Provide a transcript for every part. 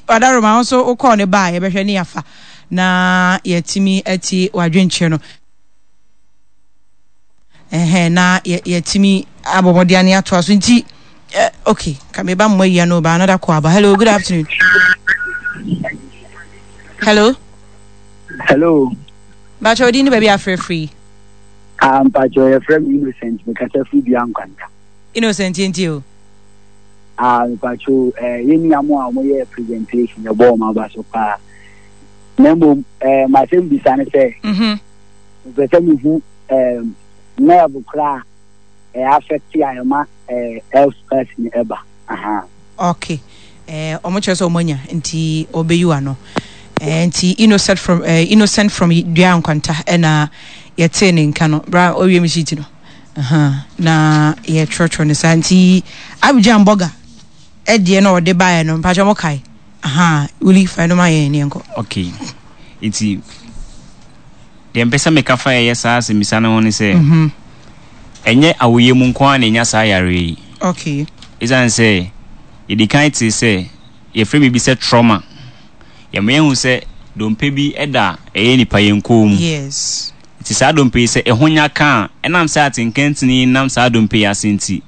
Adaroma wo nso wokɔɔ ne ba a yɛbɛhwɛ ne yɛafa na yɛatumi atie w'adwenkyerɛ no. Ɛhɛn na yɛatumi abɔ mmɔden ane atoa so nti eh, okay ka meba mmɔ awia no ba another call aba. Hello, good afternoon. Hello. Hello. Bakyɛ odin ne baabi afrɛfiri. Ah, mpakyɛ yɛfrɛ me Innocent, mekasa firi Dua Nkwanta. Innocent yɛntie o. Ah, mpakyɛ eh, yɛn nua mo a wɔyɛ presentation yɛbɔ wɔn aba so paa. Na mmom eh, m'asɛm bisa ne sɛ, mhm. mepɛ sɛ mehu eh, nerve koraa a ɛyɛ affect a ɛma eh, health person ɛba. Aha. Okay. Eh, ɔmo kyerɛ sɛ ɔmo anya nti ɔbɛyi ano. Eh, nti innocent from eh, innocent from Dua Nkwanta ɛna yɛtee ne nka no bra ɔwie me sheet no. Aha, na yɛtwerɛtwerɛ no saa nti Abidjan Burger ɛdeɛ na ɔde baeɛ no mpakyɛ mo kae. Aha, wuli fa ɛno ma yɛn ne yɛnkɔ. Okay. Nti deɛ mpɛ sɛ meka fa ɛyɛ saa asɛmmisa no ho ne sɛ ɛnyɛ awoyɛ mu nko ara na ɛnya saa yareɛ yi. Okay. Ɛsiane sɛ yɛdi kan tee sɛ yɛfrɛ biribi sɛ trauma. Yɛma yɛhu sɛ dompe bi da ɛyɛ nipa yɛn kɔn mu. Yes. Nti saa dompe yi sɛ ɛho nya ka a, ɛnam sɛ atenkantini yi nam saa dompe yi ase nti,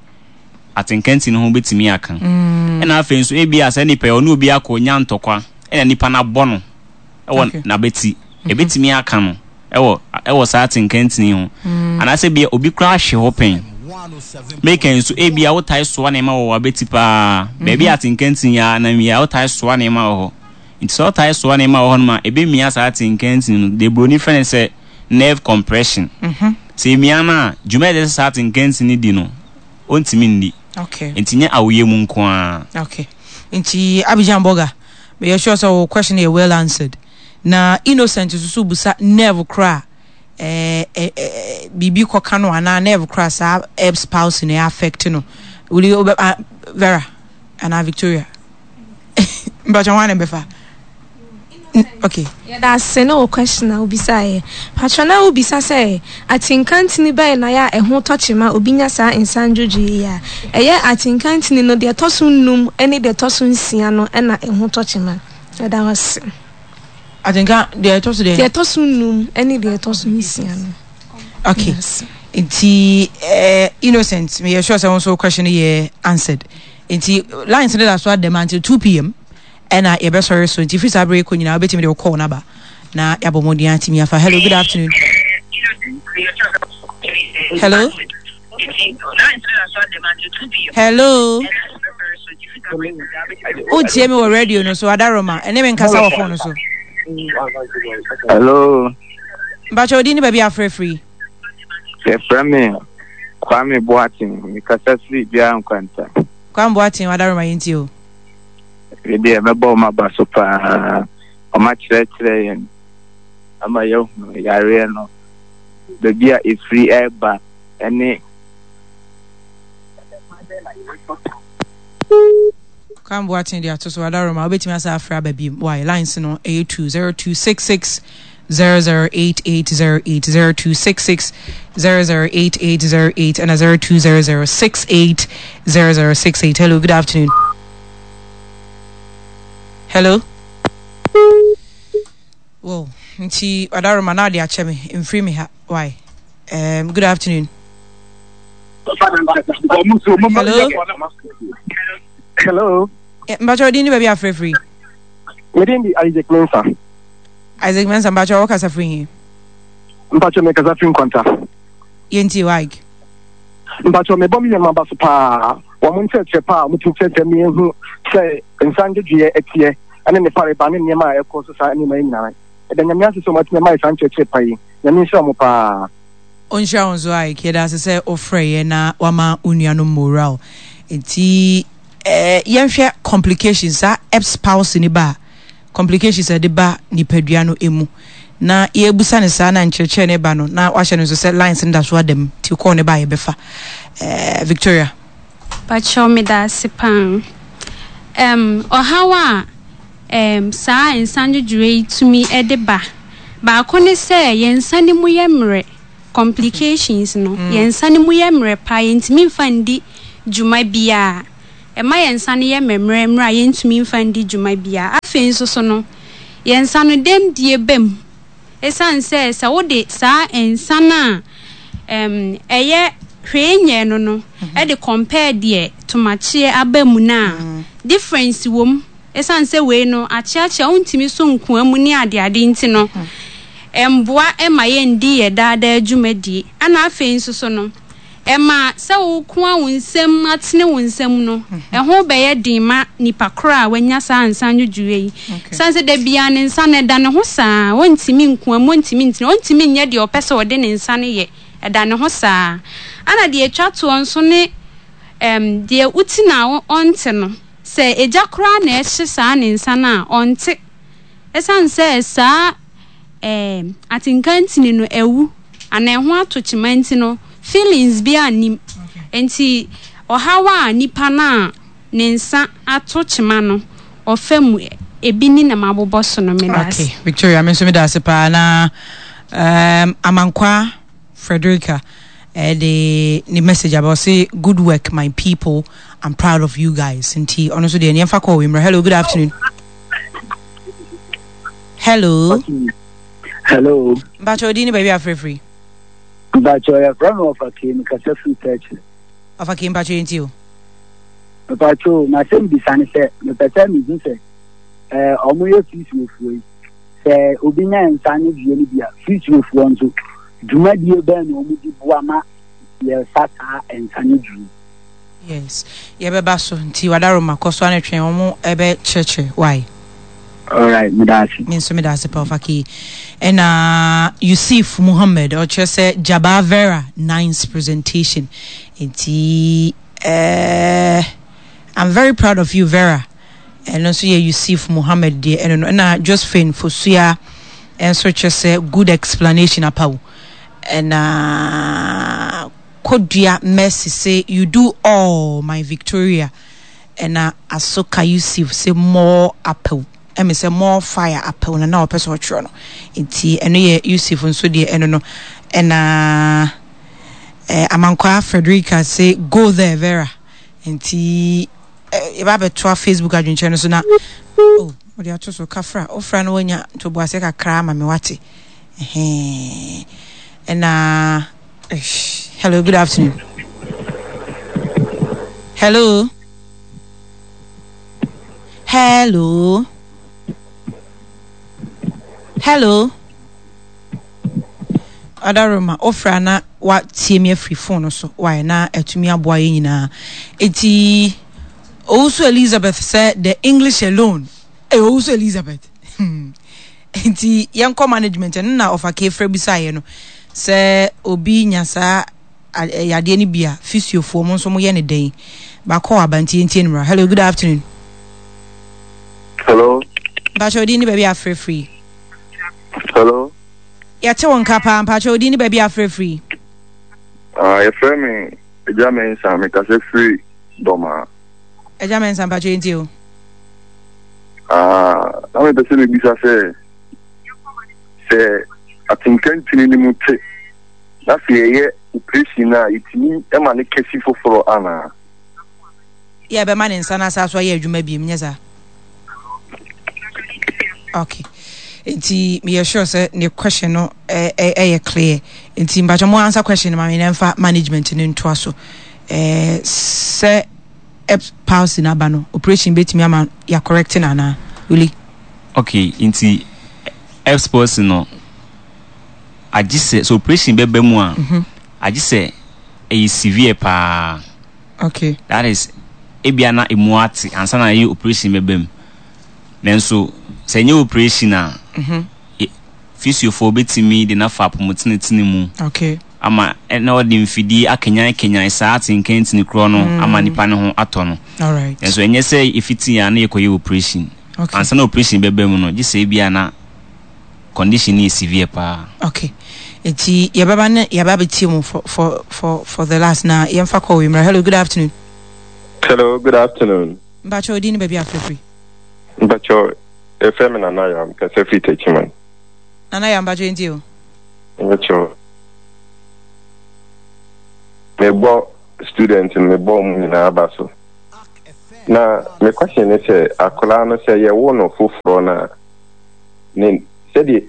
atenkantini ho bɛtumi aka. Ɛna afei nso ebia saa nipa yi ɔne obi akɔ nya ntɔkwa ɛna nipa no abɔ no ɛwɔ n'abati. Ɛbɛtumi aka no ɛwɔ ɛwɔ saa atenkantini ho. Anaasɛ ebia obi koraa ahwe hɔ pɛn. Meka yi nso ebia wotae soa nneɛma wɔ w'abati paa. Baabi a atenkantini yi ara nam yi a wotae soa nneɛma wɔ hɔ. Nti sɛ wotae soa nneɛma wɔ hɔnom a, ɛbɛmia saa atenkantini no. Deɛ buroni frɛ no sɛ nerve compression. Sɛ ɛmia no a, dwuma a ɛsɛ sɛ saa atenkantini no di no, ɔntumi nni. Okay. Nti nyɛ awoyɛ mu nko ara. Okay. Nti Abidjan Burger, meyɛ sure sɛ wo question yɛ well answered. Na Innocent nso so busa nerve koraa eh, eh, eh, biribi kɔka no anaa nerve koraa saa Erb's palsy no affect no. Wuli, ah, Vera anaa Victoria. Mpakyɛ hwan na ɛbɛfa? Okay. Yɛda ase ne wo question a wobisaeɛ. Patrɔ na wobisa sɛ atinka ntini bɛn na yɛ a ɛho tɔ kyema obi nya saa nsa ndwodwoeɛ yi a? Ɛyɛ atinka ntini no deɛ ɛtɔ so nnum ne deɛ ɛtɔ so nsia no na ɛho tɔ kyema. Yɛda wo ase. Atinka deɛ ɛtɔ so deɛ? Deɛ ɛtɔ so nnum ne deɛ ɛtɔ so nsia no. Okay. Nti eh, Innocent, meyɛ sure sɛ wo nso question yɛ answered. Nti lines no da so ada mu until 2 pm ɛna yɛbɛsɔre so nti firi saa berɛ kɔ nyinaa wobɛtumi de wo call no aba na yɛabɔ mmɔden atumi afa. Hello, good afternoon. Hello. Hello. Wotie me wɔ radio no so adaroma ɛne me nkasa wɔ phone no so. Hello. Mpakyɛ odin ne baabi afrɛ firi. Yɛfrɛ me Kwame Boateng, mekasa firi Dua Nkwanta. Kwame Boateng, Wadaroma yɛntie o. Me deɛ mɛbɔ wɔn aba so paa. Wɔn akyerɛkyerɛ yɛn ama yɛahunu yareɛ no, baabi a ɛfiri ɛreba ɛne. Kwame Boateng de ato so, Wadaroma wobɛtumi asa afrɛ aba biom. Why lines no ɛyɛ 20266 008808, 0266 008808, and 0200 680068. Hello, good afternoon. Hello. Well, nti Adaroma na ade akyɛ me mfiri me ha. Why? Good afternoon. Hello. Hello. Mpakyɛ odin ni baabi afrɛfiri. Medin di Isaac Mensah. Isaac Mensah, mpakyɛ wo kasa firi he? Mpakyɛ me kasa firi Nkwanta. Yɛntie wo Ike. Mpakyɛ me bɔ me nuanom aba so paa, wɔn nkyerɛkyerɛ paa a wɔn tumi kyerɛkyerɛ me ehu sɛ nsa ndwedweɛ ɛteɛ ɛne ne fareba ne nneɛma a ɛkɔ so saa nneɛma yi nyinaa. Yɛda Nyame ase sɛ wɔn atumi ama yɛ saa nkyerɛkyerɛ pa yi. Nyame nhyira wɔn paa. Ɔnhyira wo nso Ike, yɛda ase sɛ wo frɛ yɛ na wama wo nuanom moral. Nti eh, yɛnhwɛ complications saa Erb's palsy no ba a, complications a ɛde ba nipadua no mu. Na yɛrebusa no saa na nkyerɛkyerɛ no ba no, na wahyɛ no nso sɛ lines no da so ada mu, nti call no ba a yɛbɛfa. Eh, Victoria. Pakyɛw medaase paa. Ɛm ɔhaw a ɛm saa nsa ndwodwoeɛ yi tumi de ba, baako ne sɛ yɛn nsa no mu yɛ mmerɛ, complications no, yɛn nsa no mu yɛ mmerɛ paa, yɛntumi mfa ndi dwuma biara. Ɛma yɛn nsa no yɛ mmerɛmmerɛ a yɛntumi mfa ndi dwuma biara. Afei nso so no, yɛn nsa no dɛmdie ba mu. Esiane sɛ sɛ wode saa nsa no a ɛm, ɛyɛ hwee nyɛɛ no no de compare deɛ tomakyeɛ aba mu no a, difference wɔ mu. Esiane sɛ wei no akyeakyea, wontumi so nkoa mu ne adeade nti no, ɛmboa ma yɛndi yɛn daa daa dwumadie. Ɛna afei nso so no, Ɛma sɛ worekoa wo nsam atene wo nsam no, ɛho bɛyɛ den ma nipa koro a wanya saa nsa nwodwoeɛ yi. Sane sɛ da biara ne nsa no ɛda ne ho saa, ɔntumi nkoa mu, ɔntumi ntene, ɔntumi nyɛ deɛ ɔpɛ sɛ ɔde ne nsa no yɛ, ɛda ne ho saa. Ɛna deɛ ɛtwa toɔ nso ne ɛm deɛ woti no a ɔnte no, sɛ egya koraa na ɛhye saa ne nsa no a, ɔnte. Ɛsiane sɛ saa ɛɛ atenka ntini no awu anaa ɛho ato kyema nti no, feelings biara nnim. Nti ɔhaw a nipa no a ne nsa ato kyema no ɔfa mu, ebi ni na mabobɔ so no. Meda ase. Okay, Victoria, me nso meda ase paa na um, Amankwa Frederica ɛde ne message aba ɔse good work my people, I'm proud of you guys. Nti ɔno nso deɛ nneɛmfa kɔɔ wei mmerɛ. Hello, good afternoon. Hello. Hello. Mpakyɛ odi ne baabi afrɛfiri. Mpakyɛ yɛfrɛ me ɔfa kee mekasa firi Tɛkyerɛ. Ɔfa kee mpakyɛ yɛnti o. Mpakyɛ o m'asɛm bisa ne sɛ mepɛ sɛ mehu sɛ ɛɛ ɔmo yɛ fisiofoɔ yi sɛ obi nya nsa ne dua no bi a fisiofoɔ nso dwumadie bɛn na ɔmo di boa ma yɛfa saa nsa ne dua yi. Yes yɛbɛba so nti wadaroma kɔ so ara twɛn wɔn ɛbɛ kyerɛkyerɛ why. Alright meda ase. Me nso meda ase pa ɔfa Ɛna Yusuf Muhammad ɔkyerɛ sɛ Jabaa Vera nice presentation nti eh, I'm very proud of you Vera. Ɛno nso yɛ Yusuf Muhammad deɛ ɛno no. Ɛna Josephine Fosua nso kyerɛ sɛ good explanation apaw. Ɛna Kodua Mercy se you do all my Victoria ɛna Asoka Yusuf se more apaw ɛme sɛ more fire apaw na na ɔpɛ sɛ ɔtwerɛ no nti ɛno yɛ Yusuf nso deɛ ɛno no ɛna eh, Amankwaa Frederica se go there Vera nti eh, yɛba abɛtoa Facebook adwenkyerɛ no so na oh, ɔde ato so kafra ofra no wanya ntoboaseɛ kakra ama me wate ɛhɛn ɛna Hello, good afternoon. Hello. Hello. Hello. Adaroma, ofra na watie me afiri phone no so. Why na atumi aboa yɛn nyinaa. Eti Owusu Elizabeth sɛ the English alone. Eh, Owusu Elizabeth. Hmm. Nti yɛnkɔ management ɛno na ɔfa kefrɛ bisaeɛ no sɛ obi nya saa yadeɛ no bi a physiofoɔ mo nso moyɛ ne dɛn bakɔ aba nti yɛntie no mmra. Hello, good afternoon. Hello. Mpakyɛ odin ne baabi afrɛ firi. Hello. Yɛte wo nka paa mpakyɛ odin ne baabi afrɛ firi. Ah, yɛfrɛ me Agya Mensah mekasa firi Dɔmaa. Agya Mensah mpakyɛ yɛntie o. Ah, na mepɛ sɛ mebisa sɛ, sɛ atenka ntini no mu te na sɛ yɛyɛ operation no a, yɛtumi ma no kɛsi foforɔ anaa? Yɛ bɛma ne nsa no asa so ayɛ adwuma biem, nyɛ saa? Okay. Nti meyɛ sure sɛ ne question no ɛyɛ clear. Nti mpakyɛ mo answer question no ma me na mfa management no ntoa so. Ɛɛ sɛ Eps palsy no aba no operation bɛtumi ama yɛ correct no anaa? Uli. Ok nti Eps palsy no agye sɛ sɛ operation bɛba mu a agye sɛ ɛyɛ severe paa. Ok. That is ebia na emu ate ansa na ɛyɛ operation bɛba mu. Nanso sɛ ɛnyɛ operation a physiofoɔ bɛtumi de no afa apɔmutenetene mu. Ok. ama na ɔde mfidie akanyankanyan saa atenka ntini korɔ no ama nipa no ho atɔ no. Nanso ɛnyɛ sɛ ɛfiti a na yɛkɔyɛ operation. Ansa na operation bɛba mu no, gye sɛ ebia na condition no yɛ severe paa. Okay. Nti yɛbɛba ne yɛaba abɛtie mu for, for, for, for the last na yɛmfa kɔ wei mmra. Hello, good afternoon. Hello, good afternoon. Mpakyɛ odin ne baabi afrɛfiri. Mpakyɛ yɛfrɛ me Nana Yam, kasa firi Techiman. Nana Yam, mpakyɛ yɛntie o. Mpakyɛ mebɔ student no mebɔ wɔn nyinaa aba so. Na me question ne sɛ akwadaa no sɛ yɛwo no foforɔ no a ne sɛdeɛ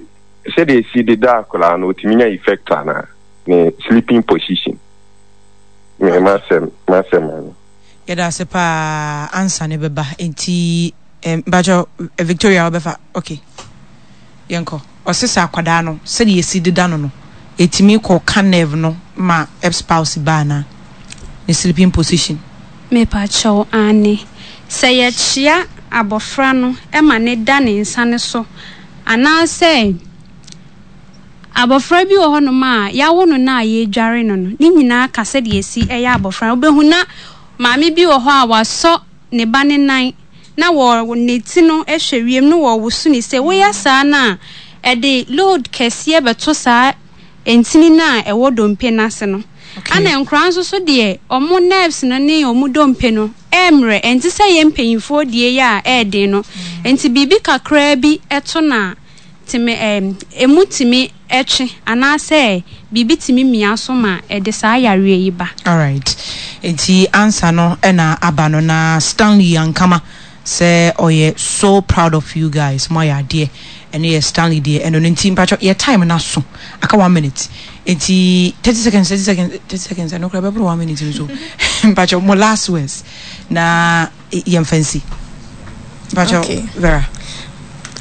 sɛdeɛ esi deda akwadaa no otumi nya effect anaa ne sleeping position me masɛm masɛm ano. Yɛda ase paa ansa ne bɛba nti mpakyɛ Victoria wobɛfa ok yɛnkɔ ɔse sɛ akwadaa no sɛdeɛ yɛsi deda no no ɛtumi kɔ ka nerve no ma Erb's palsy ba anaa ne sleeping position. Mepakyɛw, aane. Sɛ yɛkyea abɔfra no ma no da ne nsa no so anaasɛ abɔfra bi wɔ hɔnom a yɛawo no no a yɛredware no no, ne nyinaa ka sɛdeɛ ɛsi yɛ abɔfra no. Wobɛhu na maame bi wɔ hɔ a wasɔ ne ba no nan na wɔ ne ti no hwɛ wiem na wɔrewoso ne sei. Woyɛ saa no a, ɛde load kɛseɛ bɛto saa ntini no a ɛwɔ dompe no ase no. Ɛna nkwadaa nso so deɛ, wɔn nerves no ne wɔn dompe no ɛremmrɛ. Ɛnte sɛ yɛn mpanimfoɔ deɛ yi a ɛyɛ den no. Nti biribi kakraa bi to no a, tumi ɛɛ emu tumi twe anaasɛ biribi tumi mia so ma ɛde saa yareɛ yi ba. Alright, nti answer no na aba no na Stanley Ankama sɛ ɔyɛ so proud of you guys mo ayɛ adeɛ ɛno yɛ Stanley deɛ ɛno no nti mpakyɛ yɛ time no aso aka one minute nti 30 seconds 30 seconds 30 seconds ɛno koraa ɛbɛboro one minute nso mpakyɛ mo last words na yɛmfa nsi mpakyɛ okay. Vera.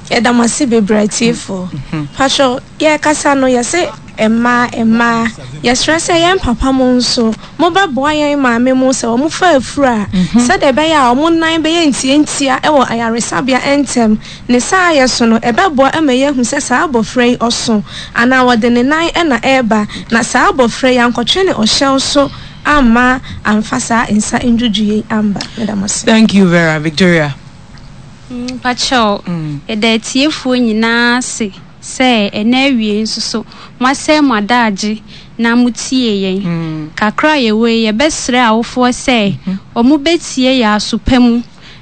Yɛda mo ase bebree atiefoɔ. Patrɔ, yɛrekasa no yɛse mmaa mmaa, yɛsrɛ sɛ yɛn papa mo nso mobɛboa yɛn maame mo sɛ wɔn fa afuru a, sɛdeɛ ɛbɛyɛ a wɔn nan bɛyɛ ntiantia wɔ ayaresabea ntɛm. Ne saa yɛ so no, ɛbɛboa ma yɛahu sɛ saa abɔfra yi ɔso anaa wɔde ne nan na ɛreba, na saa abɔfra yi ankɔtwe ne ɔhyɛw so amma amfa saa nsa ndwudwo yi amba. Meda mo ase. Thank you Vera. Victoria. Mpakyɛw, yɛda atiefoɔ nyinaa ase sɛ ɛnnɛ awiei nso so moasɛe mo adaagye na motie yɛn. Kakra a yɛwɔ yi, yɛbɛsrɛ awofoɔ sɛ wɔbɛtie yɛn aso pa mu.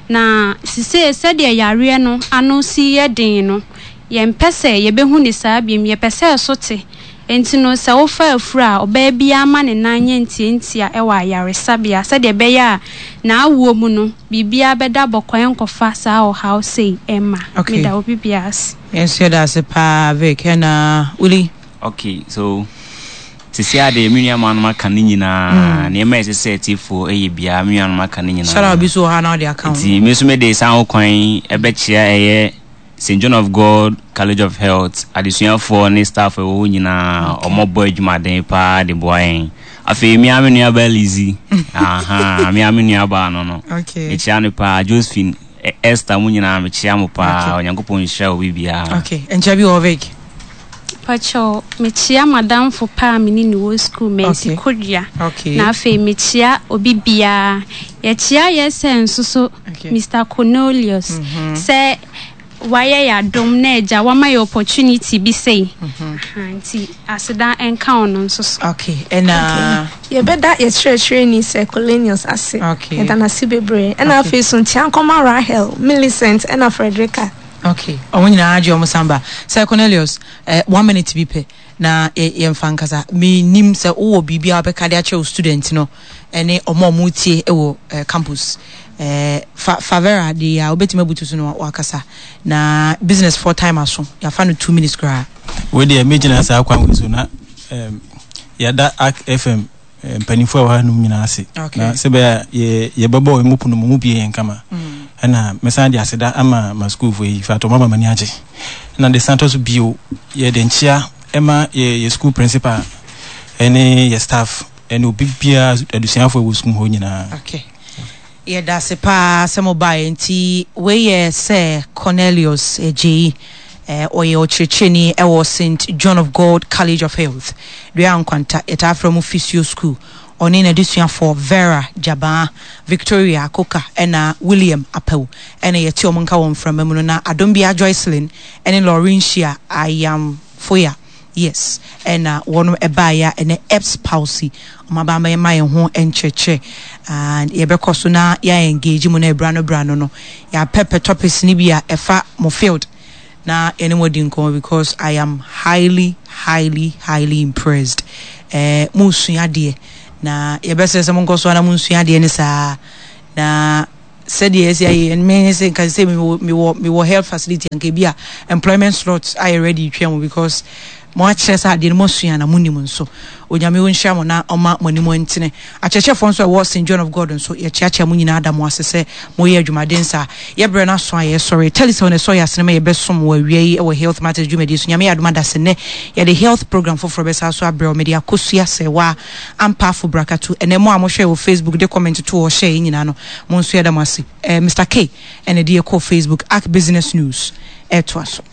Na sesei sɛdeɛ yareɛ no ano si yɛ den no, yɛmpɛ sɛ yɛbɛhu no saa biom, yɛpɛ sɛ ɛso te. Enti no, sɛ wofa afuru a, ɔbaa biara ma ne nan nyɛ ntiantia wɔ ayaresabea sɛdeɛ ɛbɛyɛ a n'awoɔ mu no, biribiara bɛda bɔkɔɔ ɛnkɔfa saa ɔhaw sei mma. Okay. Meda obi biara ase. Yɛn nso yɛda ase paa Vic ɛna Willie. Okay, so sisi a deɛ me nuanom aka ne nyinaa, nneɛma a ɛsɛ sɛ atiefoɔ yɛ biara me nuanom aka ne nyinaa. Shout out bi so wɔ ha na ɔde aka ho. Nti me nso mede saa ho kwan yi ɛbɛkyea ɛyɛ St. John of God College of Health adesuafoɔ ne staff a ɛwɔ hɔ nyinaa, wɔbɔ adwumaden paa de boa yɛn. Afei me ara me nuabaa Lizzy, aha, me ara me nuabaa no no, Okay. mekyea no paa, Josephine, E- Esther, mo nyinaa mekyea mo paa, Okay. Onyankopɔn nhyira obi biara. Okay, nkyɛ bi wɔ Vic. Pakyɛw, mekyea m'adamfo pa a me ne no wɔ sukuu, Mercy Okay. Kodua. Okay. Na afei mekyea obi biara. Yɛkyea yɛn sɛ nso so, Okay. Mister Cornelius, sɛ wayɛ yɛn adom na agya wama yɛn opportunity bi sei. Aha, nti aseda nka ɔno nso so. Okay, ɛna. Okay. Yɛbɛda yɛn kyerɛkyerɛni Sir Cornelius ase. Okay. Yɛda no ase bebree. Ɛna Okay. afei so nkyea nkɔma Rahel, Millicent, ɛna Frederica. Okay, wɔn nyinaa agye wɔn san ba. Sir Cornelius, eh, one minute bi pɛ na yɛmfa nkasa. Menim sɛ wowɔ biribi a wobɛka de akyerɛ wo student no ne wɔn a wɔretie wɔ eh, campus. Eh, fa, fa Vera de a wobɛtumi abutu so no wakasa. Na business for time aso, yɛafa no 2 minutes koraa. Wei deɛ mɛgyina saa kwan wei so na um, yɛada Ark FM mpanimfoɔ a ɛwɔ ha nom nyinaa ase na sɛ bɛyɛ a yɛ yɛbɛbɔ wɔn mu pono mu mu bie yɛn kama mm. ɛna mɛsan de aseda ama ma sukuufoɔ yi fa atɔ mama m'ani agye na de san tɔ so bio yɛde nkyea ɛma yɛ yɛ sukuu principal ɛne yɛ staff ɛne obi biara adusuafoɔ ɛwɔ sukuu hɔ nyinaa. Okay. Yɛda ase paa sɛ mobaeɛ. Nti wei yɛ Sir Cornelius Adjei. Ɔyɛ ɔkyerɛkyerɛni wɔ St. John of God College of Health, Dua Nkwanta, yɛtaa frɛ mo Physio School. Ɔne n'adesuafoɔ Vera Gyabaa, Victoria Akoka ɛna William Apawu ɛna yɛte wɔn nka wɔ mframa mu no. Na Adombia Joycelyn ɛne Laurentia Ayamfoya. Yes ɛna wɔnom ɛbaeɛ a ɛnɛ Erbs palsy wɔn aba abɛma yɛn ho nkyerɛkyerɛ and yɛbɛkɔ so na yɛ engage mu na ɛbra no bra no no yɛapɛpɛ topics no bi a ɛfa mo field na yɛne mo adi nkɔmmɔ because I am highly highly highly impressed eh, mo sua adeɛ na yɛbɛsrɛ sɛ monkɔ so na mo nsua adeɛ ne saa na. Sɛdeɛ ɛsi ayɛ yɛn me sɛ nka sɛ mewɔ mewɔ mewɔ health facility anka ebi a employment slot ayɛ ready twɛn mo because mo akyerɛ sɛ adeɛ no mo asua na mo nim nso. Onyame ɔnhyira mo na ɔma mo anim ntene. Akyerɛkyerɛfoɔ nso a ɛwɔ St John of God nso yɛkyeakyea mo nyinaa da mo ase sɛ moyɛ adwumaden saa. Yɛ berɛ no aso a yɛsɔre. Telecel na ɛsɔ yɛ asene ma yɛbɛsom wɔ awia yi wɔ Health Matters dwumadie so. Nyame yɛ adom a dase nnɛ yɛde health program foforɔ bɛsa so abrɛ wo. Mede Akosua Serwaa Ampaafo Brakatu. Ɛnɛ mo a mohwɛɛ wɔ Facebook de comment too hɔ hyɛɛ yɛn nyinaa no mo nso yɛda mo ase. Eh, Mister K ɛna ɛde yɛ kɔɔ Facebook. Ark Business News ɛtoa so.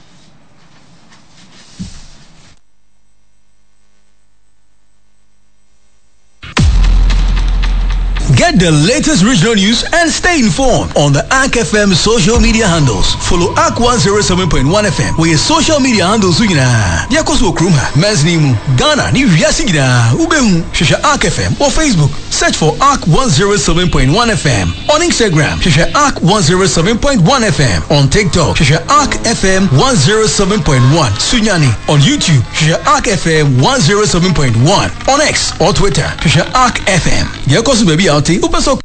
Get the latest regional news and stay informed on the ARK FM social media handles. Follow ARK 107.1 FM wɔ yɛ social media handles so nyinaa. Deɛ ɛkɔ so wɔ kurom ha, mansini mu, Ghana ne wiase nyinaa, wobɛhu. Hwehwɛ ARK FM wɔ Facebook, search for ARK 107.1 FM. On Instagram, hwehwɛ ARK 107.1 FM. On TikTok, hwehwɛ ARK FM 107.1 Sunyani. On YouTube, hwehwɛ ARK FM 107.1. On X or Twitter, hwehwɛ ARK FM. Deɛ ɛkɔ so baabi a wote, wopɛ sɛ.